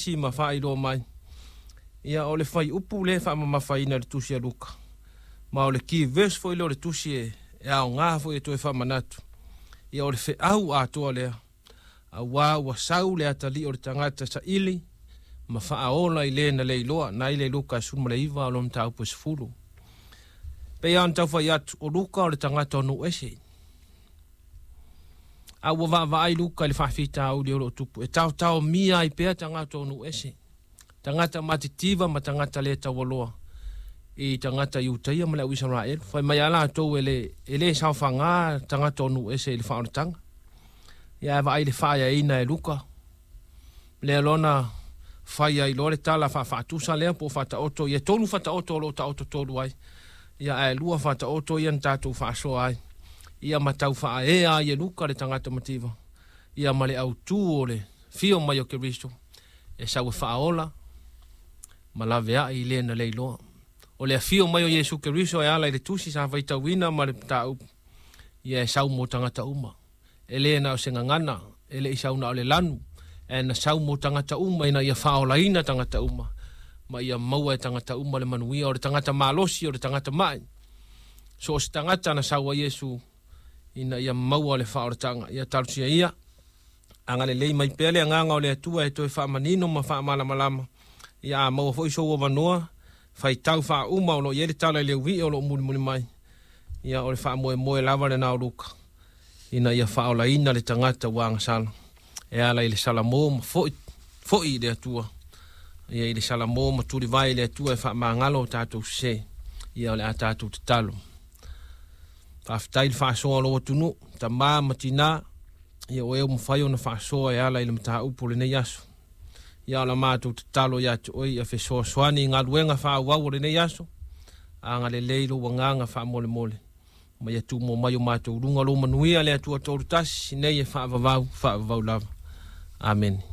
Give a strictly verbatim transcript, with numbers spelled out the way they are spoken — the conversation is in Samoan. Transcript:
nisi ma faailoa mai. Ia o le fuaiupu lea e faamamafaina i le tusi a Luka. Ma o le key verse foi lea o le tusi e, e aoga foi e toe faamanatu. Ia o le feau atoa lea. Auā ua sau le atalii o le tagata saili ma faaola i le na le iloa na i le Luka e sefulu ma le iva o lona mataupu e sefulu. Pei lava ona tau fai atu, o Luka o le tagata o nuu ese. A ua vaavaai Luka i le faafitauli o loo tupu e taotaomia ai pea tagata o nuu ese. Tagata matitiva ma tagata le taualoa i tagata Iutaia ma le au Isaraelu. Fai mai a latou e le, e le saofaga tagata o nuu ese i le faaolataga. Ia ae vaai le faaeaina e Luka. Lea lona fai ai loa le tala faafaatusa lea po o faataoto ia tolu faataoto o loo taoto tolu ai. Ia ae lua faataoto ia na tatou faasoa ai. Ia ma tau faaea ai e Luka le tagata mativa. Ia ma le autū o le fio mai o Keriso e sau e faaola ma laveai i le na le iloa. O le afio mai o Iesu Keriso e ala i le tusi sa faitauina ma le mataupu. Ia e sau mo tagata uma. E le na o se gagana, e le i sau na o le lanu, e na sau mo tagata uma ina ia faaolaina tagata uma. Ma ia maua e tagata uma le manuia o le tagata malosi o le tagata mai. So o se tagata na sau a Iesu ina ia maua le faaolataga. Ia talosia ia, agalelei mai pea le agaga o le Atua e toe faamanino ma faamalamalama. Ia a maua foi sou avanoa, faitau faauma o loo i ai le tala i le ui'i o loo mulimuli mai. Ia o le faamoemoe lava lena o Luka ina ia faaolaina le tagata ua agasala e ala i le salamo ma fo'i fo'i i le Atua. Ia i le salamo ma tulivae i le Atua e faamagalo o tatou sesē. Ia o le a tatou tatalo. Faafetai le faasoa o lou atunuu, tamā ma tinā, ia o e ua mafai ona faasoa e ala i le mataupu o lenei aso. Ia o la matou tatalo ia te oe ia fesoasoani i galuega faaauau o lenei aso, agalelei lou agaga faamolemole. Ma ia tumau mai o matou luga lou manuia le Atua tolu tasi, nei e faavavau, faavavau lava. Amene.